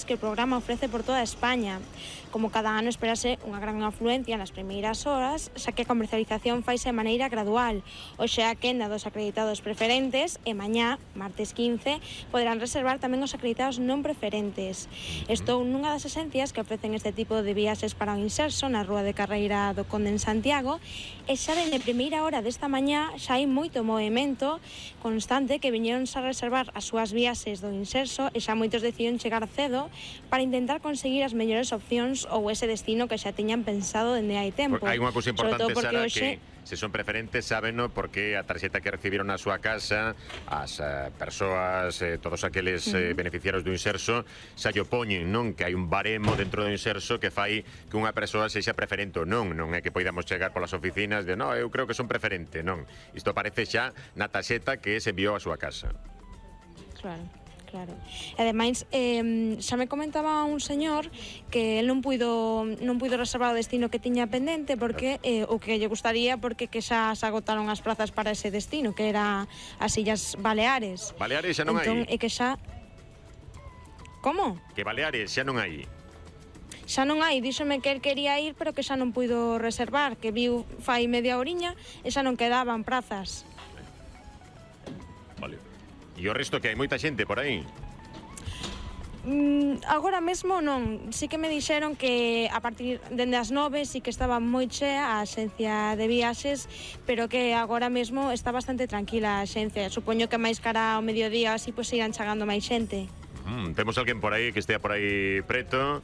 que o programa ofrece por toda España. Como cada ano esperase unha gran afluencia nas primeiras horas, xa que a comercialización faise de maneira gradual. Hoxe a quenda dos acreditados preferentes e mañá, martes 15, poderán reservar tamén os acreditados non preferentes. Estou nunha das esencias que ofrecen este tipo de viaxes para o Inserso na Rúa de Carreira do Conde en Santiago, e xa dende primeira hora desta mañá xa hai moito movimento constante que viñeronse a reservar as súas viaxes do Inserso e xa moitos decidiron chegar cedo para intentar conseguir as mellores opcións ou ese destino que xa tiñan pensado dende hai tempo. Hai unha cousa importante, Sara, hoxe... que se son preferentes sábeno porque a tarxeta que recibiron na súa casa as persoas, todos aqueles beneficiarios do Inserso xa lle poñen, non? Que hai un baremo dentro do Inserso que fai que unha persoa sexa preferente ou non. Non é que poidamos chegar polas oficinas de no, eu creo que son preferente, non. Isto aparece xa na tarxeta que se enviou á súa casa. Claro. Claro. E ademais, xa me comentaba un señor que el non puido reservar o destino que tiña pendente porque o que lle gustaría porque que xa se agotaron as plazas para ese destino, que era as Illas Baleares. Baleares xa non hai. E que xa... Como? Que Baleares xa non hai. Xa non hai, díxome que el quería ir, pero que xa non puido reservar, que viu fai media horiña e xa non quedaban prazas. Vale. E o resto que hai moita xente por aí? Agora mesmo non. Sí que me dixeron que a partir dende as 9 sí que estaba moi chea a axencia de viaxes, pero que agora mesmo está bastante tranquila a axencia. Supoño que máis cara ao mediodía así pois irán chegando máis xente. Temos alguén por aí que estea por aí preto,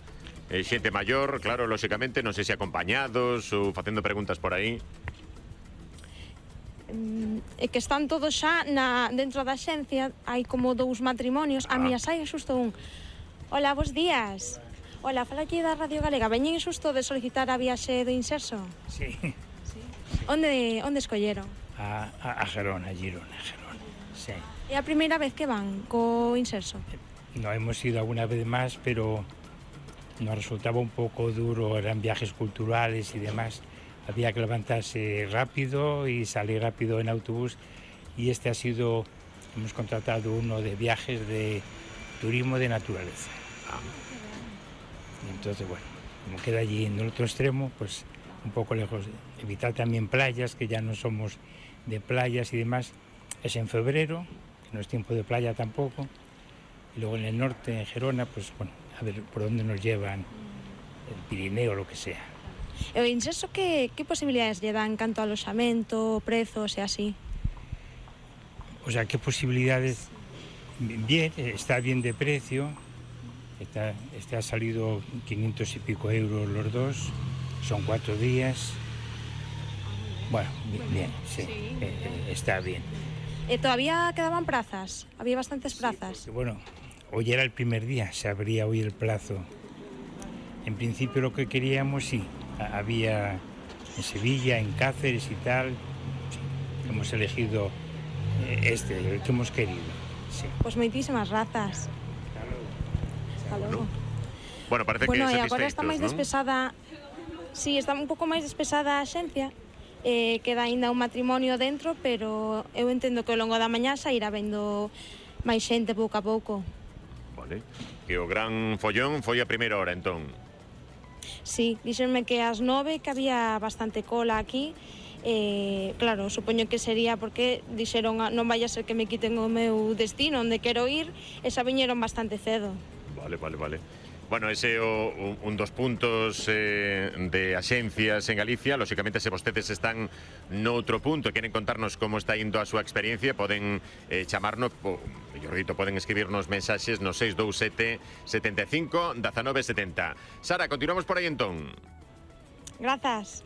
xente maior, claro, lóxicamente, non sei se acompañados ou facendo preguntas por aí. E que están todos xa dentro da xencia. Hai como 2 matrimonios. A mía sai xusto un. Hola, bos días. Hola, fala aquí da Radio Galega. Veñen xusto de solicitar a viaxe do Inserso? Sí. Onde escolleron? A Gerona, Girona. Sí. É a primeira vez que van co Inserso? No, hemos ido alguna vez más, pero nos resultaba un pouco duro, eran viajes culturales y demás. Había que levantarse rápido y salir rápido en autobús, y este ha sido, hemos contratado uno de viajes de turismo de naturaleza. Y entonces, bueno, como queda allí en el otro extremo, pues un poco lejos, evitar también playas, que ya no somos de playas y demás. Es en febrero, que no es tiempo de playa tampoco, y luego en el norte, en Gerona, pues bueno, a ver por dónde nos llevan, el Pirineo o lo que sea. E o Inserso que posibilidades lle dan canto a aloxamento, prezos e así? O sea, ¿qué posibilidades? Bien, está bien de precio, ha salido 500 y pico euros los dos, son 4 días. Bueno, bien, sí, está bien. ¿Todavía quedaban plazas? ¿Había bastantes plazas? Sí, porque, bueno, hoy era el primer día, se abría hoy el plazo. En principio lo que queríamos, sí, había en Sevilla, en Cáceres y tal. Sí, hemos elegido el que hemos querido. Sí. Pues moitísimas grazas. Hasta logo. Bueno, parece que satisfeitos, agora está máis despesada. Sí, está un pouco máis despesada a axencia. Queda aínda un matrimonio dentro, pero eu entendo que ao longo da mañá xa irá vendo máis xente pouco a pouco. Vale. Que o gran follón foi a primeira hora, entón. Sí, díxenme que ás 9 que había bastante cola aquí. Claro, supoño que sería porque dixeron non vai a ser que me quiten o meu destino onde quero ir, e xa viñeron bastante cedo. Vale. Bueno, ese é un dos puntos de axencias en Galicia. Lóxicamente, se vostedes están noutro punto e queren contarnos como está indo a súa experiencia, poden chamarnos, mellor dito, poden escribirnos mensaxes no 627 75 19 70. Sara, continuamos por aí entón. Grazas.